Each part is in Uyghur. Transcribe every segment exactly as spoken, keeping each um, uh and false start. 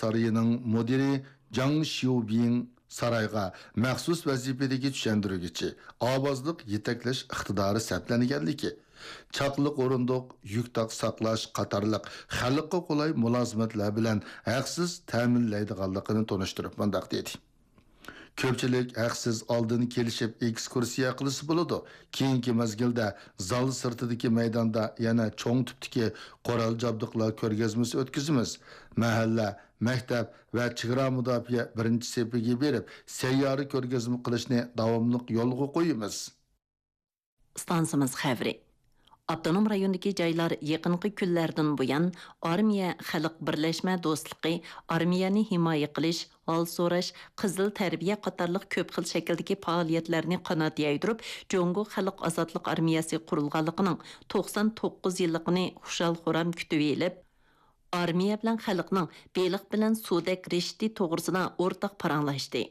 سارىيىنىڭ مۇدىرى جاڭ شيۇبىڭ سارايغا مەخسۇس ۋەزىپىدىكى چۈشەندۈرگۈچى، ئاۋازلىق يېتەكلەش ئىقتىدارى سەپلەنگەنلىكى، چاقلىق ئورۇندۇق، يۈك تاق ساقلاش قاتارلىق خەلققە قولاي مۇلازىمەتلەر بىلەن ھەقسىز تەمىنلەيدىغانلىقىنى تونۇشتۇرۇپ مۇنداق دېدى: كۆپچىلىك ھەقسىز ئالدىن كېلىشىپ ئېكسكۇرسىيە قىلسا بولىدۇ. كېيىنكى مەزگىلدە زال سىرتىدىكى مەيداندا يەنە چوڭ تىپتىكى قورال جابدۇقلار كۆرگەزمىسى ئۆتكۈزىمىز. مەھەللە، مەكتەپ ۋە چېگرا مۇداپىئە بىرىنچى سېپىگە بېرىپ، سەييارە كۆرگەزمە قىلىشنى داۋاملىق يولغا قويىمىز. ئىستانسىمىز خەۋىرى. ئاپتونوم رايوندىكى جايلار يېقىنقى كۈنلەردىن بۇيان ئارمىيە خەلق بىرلەشمە دوستلۇقى، ئارمىيەنى ھىمايە قىلىش، ھال سوراش، قىزىل تەربىيە قاتارلىق كۆپ خىل شەكىلدىكى پائالىيەتلەرنى قانات يايدۇرۇپ، جۇڭگو خەلق ئازادلىق ئارمىيەسى قۇرۇلغانلىقىنىڭ توقسان توققۇز يىللىقىنى خۇشال-خۇرام كۈتۈۋېلىپ، ئارمىيە بىلەن خەلقنىڭ بېلىق بىلەن سۇدەك رىشتى توغرىسىدا ئورتاق پاراڭلاشتى.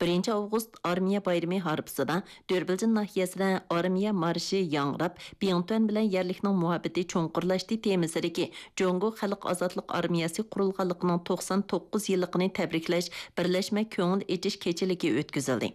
بىرىنچى ئاۋغۇست ئارمىيە بايرىمى ھارپىسىدا دۆربىلجىن ناھىيەسىدە ئارمىيە مارشى ياڭراپ، بىڭتۈەن بىلەن يەرلىكنىڭ مۇھەببىتى چوڭقۇرلاشتى تېمىسىدىكى جۇڭگو خەلق ئازادلىق ئارمىيەسى قۇرۇلغانلىقىنىڭ توقسان توققۇز يىللىقىنى تەبرىكلەش بىرلەشمە كۆڭۈل ئېچىش كېچىلىكى ئۆتكۈزۈلدى.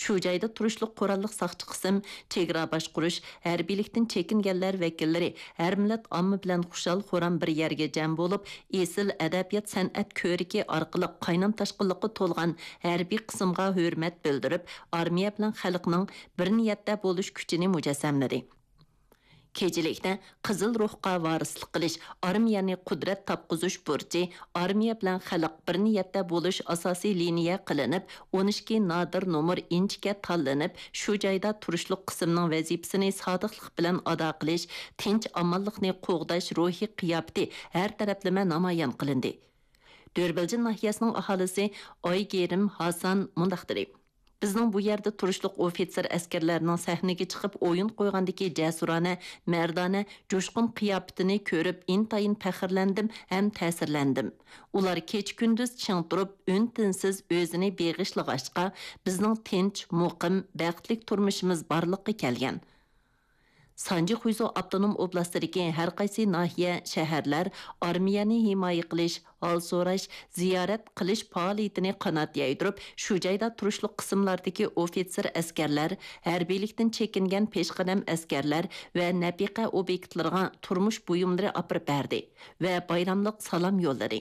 شۇ جايدا تۇرۇشلۇق قوراللىق ساقچى قىسىم، چېگرا باشقۇرۇش، ھەربىيلىكتىن چېكىنگەنلەر ۋەكىللىرى، ھەر مىللەت ئامما بىلەن خۇشال-خۇرام بىر يەرگە جەم بولۇپ، ئېسىل ئەدەبىيات-سەنئەت كۆرىكى ئارقىلىق قاينام-تاشقىنلىققا تولغان ھەربىي قىسىمغا ھۆرمەت بىلدۈرۈپ، ئارمىيە بىلەن خەلقنىڭ بىر نىيەتتە بولۇش كۈچىنى مۇجەسسەملىدى. كېچىلىكتە قىزىل روھقا ۋارىسلىق قىلىش، ئارمىيەنى قۇدرەت تاپقۇزۇش بۇرچى، ئارمىيە بىلەن خەلق بىر نىيەتتە بولۇش ئاساسىي لىنىيە قىلىنىپ، ئون ئىككى نادىر نومۇر ئىنچىكە تاللىنىپ، شۇ جايدا تۇرۇشلۇق قىسىمنىڭ ۋەزىپىسىنى سادىقلىق بىلەن ئادا قىلىش، تىنچ-ئامانلىقنى قوغداش روھىي قىياپىتى ھەر تەرەپلىمە نامايان قىلىندى. دۆربىلجىن ناھىيەسىنىڭ ئاھالىسى ئايگېرىم ھاسان مۇنداق دېدى: بىزنىڭ بۇ يەردە تۇرۇشلۇق ئوفىتسېر ئەسكەرلەرنىڭ سەھنىگە چىقىپ ئويۇن قويغاندىكى جەسۇرانە، مەردانە، جۇشقۇن قىياپىتىنى كۆرۈپ ئىنتايىن پەخىرلەندىم ھەم تەسىرلەندىم. ئۇلار كېچە-كۈندۈز چىڭ تۇرۇپ، ئۈن-تىنسىز ئۆزىنى بېغىشلىغاچقا، بىزنىڭ تىنچ، مۇقىم، بەختلىك تۇرمۇشىمىز بارلىققا كەلگەن. سانجى خۇيزۇ ئاپتونوم ئوبلاستىدىكى ھەر قايسى ناھىيە، شەھەرلەر ئارمىيەنى ھىمايە قىلىش، ھال سوراش، زىيارەت قىلىش پائالىيىتىنى قانات يايدۇرۇپ، شۇ جايدا تۇرۇشلۇق قىسىملاردىكى ئوفىتسېر ئەسكەرلەر، ھەربىيلىكتىن چېكىنگەن پېشقەدەم ئەسكەرلەر ۋە نەپىقە ئوبيېكتلىرىغا تۇرمۇش بۇيۇملىرى ئاپىرىپ بەردى ۋە بايراملىق سالام يوللىدى.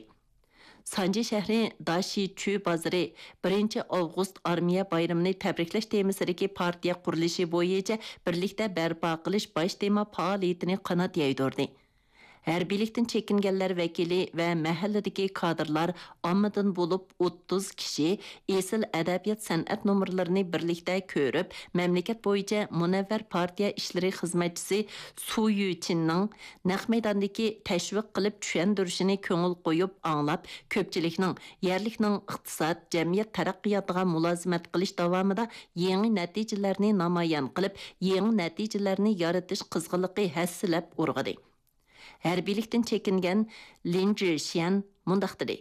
سانجى شەھىرى داشىچۈ بازىرى بىرىنچى ئاۋغۇست ئارمىيە بايرىمىنى تەبرىكلەش تېمىسىدىكى پارتىيە قۇرۇلۇشى بويىچە بىرلىكتە بەرپا قىلىش باش تېما پائالىيىتىنى قانات يايدۇردى. ھەربىيلىكتىن چېكىنگەنلەر ۋەكىلى ۋە مەھەللىدىكى كادىرلار ئاممىدىن بولۇپ ئوتتۇز كىشى ئېسىل ئەدەبىيات-سەنئەت نومۇرلىرىنى بىرلىكتە كۆرۈپ، مەملىكەت بويىچە مۇنەۋۋەر پارتىيە ئىشلىرى خىزمەتچىسى سۇ يۈچىننىڭ نەق مەيداندىكى تەشۋىق قىلىپ چۈشەندۈرۈشىنى كۆڭۈل قويۇپ ئاڭلاپ، كۆپچىلىكنىڭ يەرلىكنىڭ ئىقتىساد، جەمئىيەت تەرەققىياتىغا مۇلازىمەت قىلىش داۋامىدا يېڭى نەتىجىلەرنى نامايان قىلىپ، يېڭى نەتىجىلەرنى يارىتىش قىزغىنلىقى ھەسسىلەپ ئۇرغۇدى. ھەربىيلىكتىن چېكىنگەن لىن جىشيەن مۇنداق دېدى: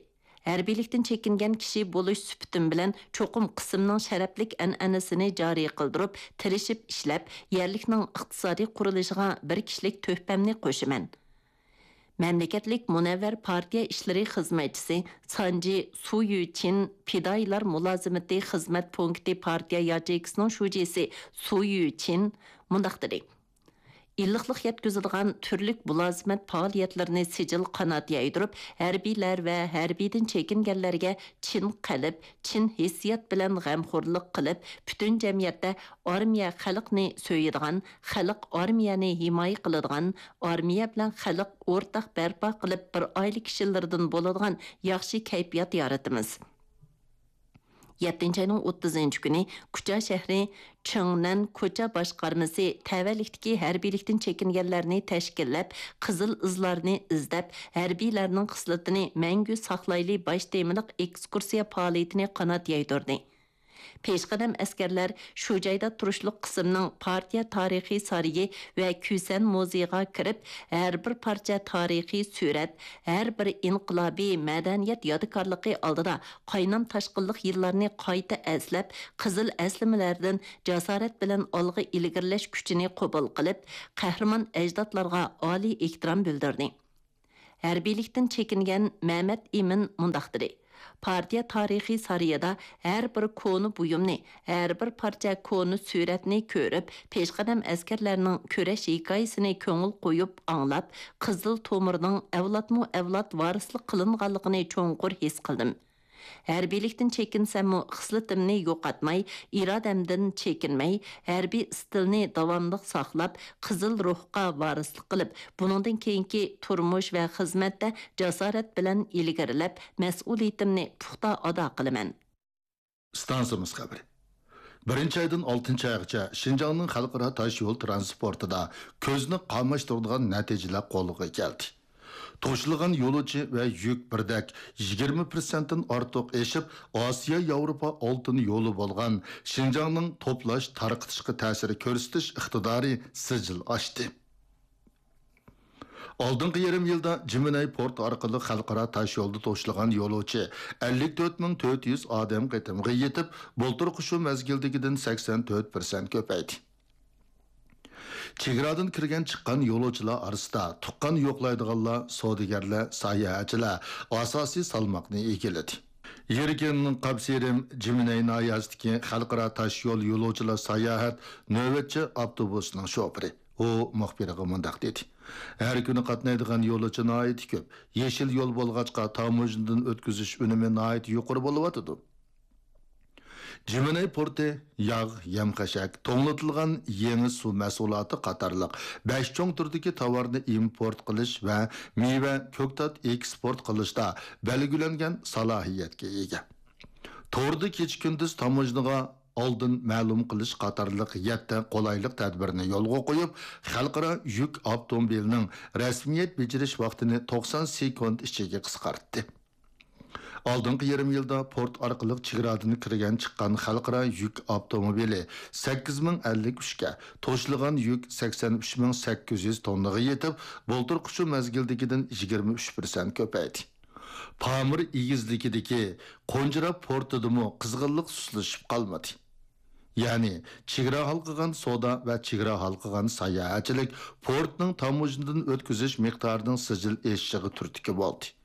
ھەربىيلىكتىن چېكىنگەن كىشى بولۇش سۈپىتىم بىلەن، چوقۇم قىسىمنىڭ شەرەپلىك ئەنئەنىسىنى جارى قىلدۇرۇپ، تىرىشىپ ئىشلەپ، يەرلىكنىڭ ئىقتىسادىي قۇرۇلۇشىغا بىر كىشىلىك تۆھپەمنى قوشىمەن. مەملىكەتلىك مۇنەۋۋەر پارتىيە ئىشلىرى خىزمەتچىسى سانجى سۇ يۈچىن پىدائىيلار مۇلازىمىتى خىزمەت پونكىتى پارتىيە ياچېيكىسىنىڭ شۇجىسى سۇ يۈچىن مۇنداق دېدى: ئىللىقلىق يەتكۈزىدىغان تۈرلۈك مۇلازىمەت پائالىيەتلىرىنى سىجىل قانات يايدۇرۇپ، ھەربىيلەر ۋە ھەربىيدىن چېكىنگەنلەرگە چىن قەلب، چىن ھېسسىيات بىلەن غەمخورلۇق قىلىپ، پۈتۈن جەمئىيەتتە ئارمىيە خەلقنى سۆيىدىغان، خەلق ئارمىيەنى ھىمايە قىلىدىغان، ئارمىيە بىلەن خەلق ئورتاق بەرپا قىلىپ بىر ئائىلە كىشىلىرىدىن بولىدىغان ياخشى كەيپىيات يارىتىمىز. يەتتىنچى ئاينىڭ ئوتتۇزىنچى كۈنى كۇچا شەھىرى چىڭنەن كوچا باشقارمىسى تەۋەلىكتىكى ھەربىيلىكتىن چېكىنگەنلەرنى تەشكىللەپ، قىزىل ئىزلارنى ئىزدەپ، ھەربىيلەرنىڭ خىسلىتىنى مەڭگۈ ساقلايلى باش تېمىلىق ئېكسكۇرسىيە پائالىيىتىنى قانات يايدۇردى. پېشقەدەم ئەسكەرلەر شۇ جايدا تۇرۇشلۇق قىسىمنىڭ پارتىيە تارىخىي سارىيى ۋە كۈسەن مۇزېيىغا كىرىپ، ھەر بىر پارچە تارىخىي سۈرەت، ھەر بىر ئىنقىلابىي مەدەنىيەت يادىكارلىقى ئالدىدا قاينام تاشقىنلىق يىللارنى قايتا ئەسلەپ، قىزىل ئەسلىمىلەردىن جاسارەت بىلەن ئالغا ئىلگىرىلەش كۈچىنى قوبۇل قىلىپ، قەھرىمان ئەجدادلارغا ئالىي ئېھتىرام بىلدۈردى. ھەربىيلىكتىن چېكىنگەن مەمەت ئىمىن مۇنداق دېدى: پارتىيە تارىخىي سارىيىدا ھەر بىر كونا بۇيۇمنى، ھەر بىر پارچە كونا سۈرەتنى كۆرۈپ، پېشقەدەم ئەسكەرلەرنىڭ كۈرەش ھېكايىسىنى كۆڭۈل قويۇپ ئاڭلاپ، قىزىل تومۇرنىڭ ئەۋلادمۇ ئەۋلاد ۋارىسلىق قىلىنغانلىقىنى چوڭقۇر ھېس قىلدىم. ھەربىيلىكتىن چېكىنسەممۇ، خىسلىتىمنى يوقاتماي، ئىرادەمدىن چېكىنمەي، ھەربىي ئىستىلنى داۋاملىق ساقلاپ، قىزىل روھقا ۋارىسلىق قىلىپ، بۇنىڭدىن كېيىنكى تۇرمۇش ۋە خىزمەتتە جاسارەت بىلەن ئىلگىرىلەپ، مەسئۇلىيىتىمنى پۇختا ئادا قىلىمەن. ئىستانسىمىز خەۋىرى. بىرىنچى ئايدىن ئالتىنچى ئايغىچە شىنجاڭنىڭ خەلقئارا تاش يول ترانسپورتىدا كۆزنى قاماشتۇرىدىغان نەتىجىلەر قولغا كەلدى. توشۇلغان يولۇچى ۋە يۈك بىردەك يىگىرمە پىرسەنتتىن ئارتۇق ئېشىپ، ئاسىيا ياۋروپا ئالتۇن يولى بولغان شىنجاڭنىڭ توپلاش، تارقىتىشقا تەسىر كۆرسىتىش ئىقتىدارى سىجىل ئاشتى. ئالدىنقى يېرىم يىلدا جىمىنەي پورت ئارقىلىق خەلقئارا تاش يولدا توشۇلغان يولۇچى ئەللىك تۆت مىڭ تۆت يۈز ئادەم قېتىمغا يېتىپ، بۇلتۇرقى شۇ مەزگىلدىكىدىن سەكسەن تۆت پىرسەنت كۆپەيدى. چېگرادىن كىرگەن چىققان يولۇچىلار ئارىسىدا تۇغقان يوقلايدىغانلار، سودىگەرلەر، ساياھەتچىلەر ئاساسىي سالماقنى ئىگىلىدى. يىركىن قاپسېرىم جىمىنەي ناھىيەسىدىكى خەلقئارا تاش يول يولۇچىلار ساياھەت نۆۋەتچى ئاپتوبۇسىنىڭ شوپۇرى. ئۇ مۇخبىرغا مۇنداق دېدى: ھەر كۈنى قاتنايدىغان يولۇچى ناھايىتى كۆپ. يېشىل يول بولغاچقا، تاموژنىدىن ئۆتكۈزۈش ئۈنۈمى ناھايىتى يۇقىرى بولۇۋاتىدۇ. جىمىنەي پورتى ياغ، يەم-خەشەك، توڭلىتىلغان يېڭى سۇ مەھسۇلاتى قاتارلىق بەش چوڭ تۈردىكى تاۋارنى ئىمپورت قىلىش ۋە مېۋە، كۆكتات ئېكسپورت قىلىشتا بەلگىلەنگەن سالاھىيەتكە ئىگە. توردا كېچە-كۈندۈز تاموژنىغا ئالدىن مەلۇم قىلىش قاتارلىق يەتتە قولايلىق تەدبىرنى يولغا قويۇپ، خەلقئارا يۈك ئاپتوموبىلىنىڭ رەسمىيەت بېجىرىش ۋاقتىنى توقسان سېكۇنت ئىچىگە قىسقارتتى. ئالدىنقى يېرىم يىلدا پورت ئارقىلىق چېگرادىن كىرگەن چىققان خەلقئارا يۈك ئاپتوموبىلى سەككىز مىڭ ئەللىك ئۈچكە، توشۇلغان يۈك سەكسەن ئۈچ مىڭ سەككىز يۈز توننىغا يېتىپ، بۇلتۇرقى شۇ مەزگىلدىكىدىن يىگىرمە ئۈچ پىرسەنت كۆپەيدى. پامىر ئېگىزلىكىدىكى قونجىرا پورتىدىمۇ قىزغىنلىق سۇسلىشىپ قالمىدى. يەنى، چېگرا ھالقىغان سودا ۋە چېگرا ھالقىغان ساياھەتچىلىك پورتنىڭ تاموژنىدىن ئۆتكۈزۈش مىقدارىنىڭ سىجىل ئېشىشىغا تۈرتكە بولدى.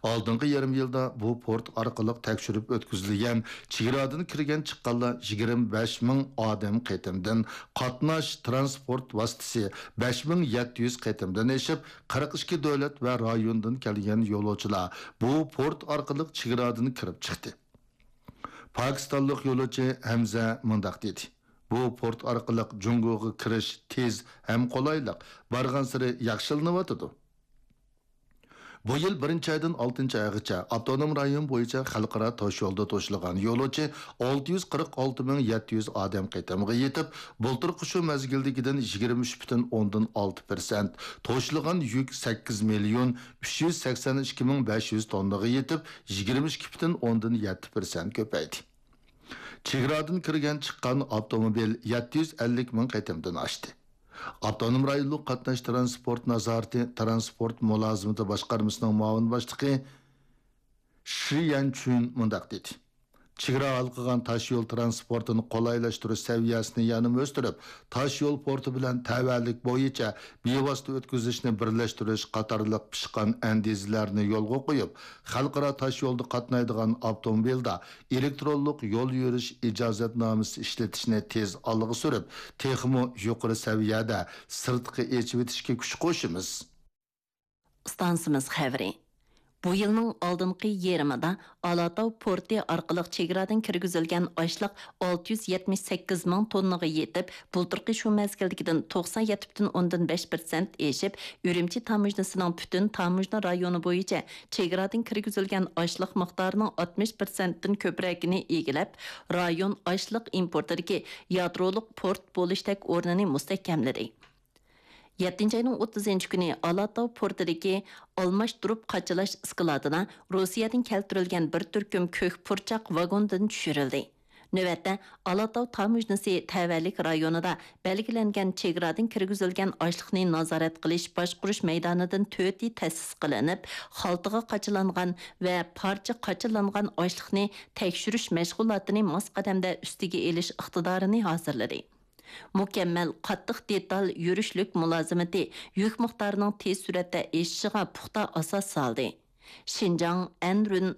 ئالدىنقى يېرىم يىلدا بۇ پورت ئارقىلىق تەكشۈرۈپ ئۆتكۈزۈلگەن چېگرادىن كىرگەن چىققانلار يىگىرمە بەش مىڭ ئادەم قېتىمدىن، قاتناش تىرانسپورت ۋاسىتىسى بەش مىڭ يەتتە يۈز قېتىمدىن ئېشىپ، قىرىق ئىككى دۆلەت ۋە رايوندىن كەلگەن يولۇچىلار بۇ پورت ئارقىلىق چېگرادىن كىرىپ چىقتى. پاكىستانلىق يولۇچى ھەمزە مۇنداق دېدى: بۇ پورت ئارقىلىق جۇڭگوغا كىرىش تېز ھەم قولايلىق، بارغانسېرى ياخشىلىنىۋاتىدۇ. بۇ يىل بىرىنچى ئايدىن ئالتىنچى ئايغىچە ئاپتونوم رايون بويىچە خەلقئارا تاشيولدا توشۇلغان يولۇچى ئالتە يۈز قىرىق ئالتە مىڭ يەتتە يۈز ئادەم قېتىمغا يېتىپ، بۇلتۇرقى شۇ مەزگىلدىكىدىن يىگىرمە ئۈچ پۈتۈن ئوندىن ئالتە پىرسەنت، توشۇلغان يۈك سەككىز مىليون ئۈچ يۈز سەكسەن ئىككى مىڭ بەش يۈز توننىغا يېتىپ، يىگىرمە ئىككى پۈتۈن ئوندىن يەتتە پىرسەنت كۆپەيدى. چېگرادىن كىرگەن چىققان ئاپتوموبىل يەتتە يۈز ئەللىك مىڭ قېتىمدىن ئاشتى. ئاپتونوم رايونلۇق قاتناش تىرانسپورت نازارىتى تىرانسپورت مۇلازىمىتى باشقارمىسىنىڭ مۇئاۋىن باشلىقى شى يەنچۈن مۇنداق دېدى: چېگرا ھالقىغان تاشيول تىرانسپورتىنى قولايلاشتۇرۇش سەۋىيەسىنى يەنىمۇ ئۆستۈرۈپ، تاشيول پورتى بىلەن تەۋەلىك بويىچە بىۋاسىتە ئۆتكۈزۈشنى بىرلەشتۈرۈش قاتارلىق پىشقان ئەندىزىلەرنى يولغا قويۇپ، خەلقئارا تاشيولدا قاتنايدىغان ئاپتوموبىلدا ئېلېكترونلۇق يول يۈرۈش ئىجازەتنامىسى ئىشلىتىشنى تېز ئالغا سۈرۈپ، تېخىمۇ يۇقىرى سەۋىيەدە سىرتقا ئېچىۋېتىشكە كۈچ قوشىمىز. ئىستانسىمىز خەۋىرى. بۇ يىلنىڭ ئالدىنقى يېرىمىدا ئالاتاۋ پورتى ئارقىلىق چېگرادىن كىرگۈزۈلگەن ئاشلىق ئالتە يۈز يەتمىش سەككىز مىڭ توننىغا يېتىپ، بۇلتۇرقى شۇ مەزگىلدىكىدىن توقسان يەتتە پۈتۈن ئوندىن بەش پىرسەنت ئېشىپ، ئۈرۈمچى تاموژنىسىنىڭ پۈتۈن تاموژنا رايونى بويىچە چېگرادىن كىرگۈزۈلگەن ئاشلىق مىقدارىنىڭ ئاتمىش پىرسەنتتىن كۆپرەكىنى ئىگىلەپ، رايون ئاشلىق ئىمپورتىدىكى يادرولۇق پورت بولۇشتەك ئورنىنى مۇستەھكەملىدى. يەتتىنچى ئاينىڭ ئوتتۇزىنچى كۈنى ئالاتاۋ پورتىدىكى ئالماشتۇرۇپ قاچىلاش ئىسكىلاتىدا روسىيەدىن كەلتۈرۈلگەن بىر تۈركۈم كۆك پۇرچاق ۋاگوندىن چۈشۈرۈلدى. نۆۋەتتە، ئالاتاۋ تاموژنىسى تەۋەلىك رايونىدا بەلگىلەنگەن چېگرادىن كىرگۈزۈلگەن ئاشلىقنى نازارەت قىلىش باشقۇرۇش مەيدانىدىن تۆتى تەسىس قىلىنىپ، خالتىغا قاچىلانغان ۋە پارچە قاچىلانغان ئاشلىقنى تەكشۈرۈش مەشغۇلاتىنى ماس قەدەمدە ئۈستىگە ئېلىش ئىقتىدارىنى ھازىرلىدى. مۇكەممەل، قاتتىق دېتال يۈرۈشلۈك مۇلازىمىتى يۈك مىقدارىنىڭ تېز سۈرئەتتە ئېشىشىغا پۇختا ئاساس سالدى. شىنجاڭ ئەنرۇن